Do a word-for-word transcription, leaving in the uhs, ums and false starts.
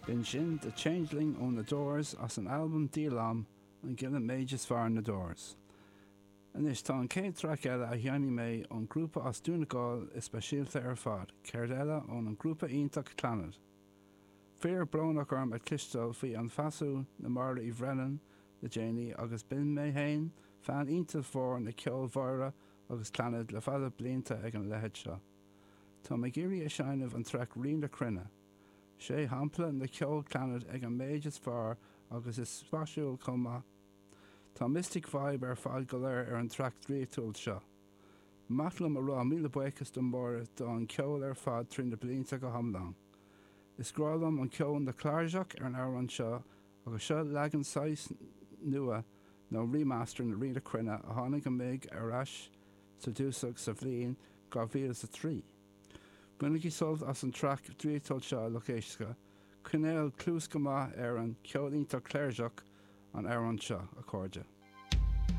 B'in sin The Changeling ó na Doors as an albam díolaim an gile méid is fearr na Doors. Anois tá an chéad traic eile a sheinnfidh mé ón grúpa as Dún na nGall is speisialta ar fad, céard eile ón an grúpa iontach Clannad. Fíor brónach orm a chloisteáil faoi an phasú na Máire Uí Bhrennan le déanaí agus b'in mé féin fan iontach mhór na ceol Mháire agus Clannad le fada blianta ag an leithéid seo. Tá mé ag iarraidh a sheinm an traic Rí na Cruinne. Sé shampla na ceol Clannad ag an méid is fearr agus is spéisiúil chomh maith. Tá mystic vibe ar fad go léir ar an traic draíochtúil seo. Maith liom a rá míle buíochas do Máire do an ceol ar fad trí na blianta go hiomlán. Is grá liom an ceol na cláirseach ar an amhrán seo agus seo leagan saghas nua nó remaster na Rí na Cruinne a tháinig amach ar ais sa dúsach sa bhliain dhá mhíle sa trí. Bainigí sult as an traic draíochtúil seo lucht éisteachta, coinneáil cluas go maith ar an ceol iontach cláirseach an amhrán seo a chairde.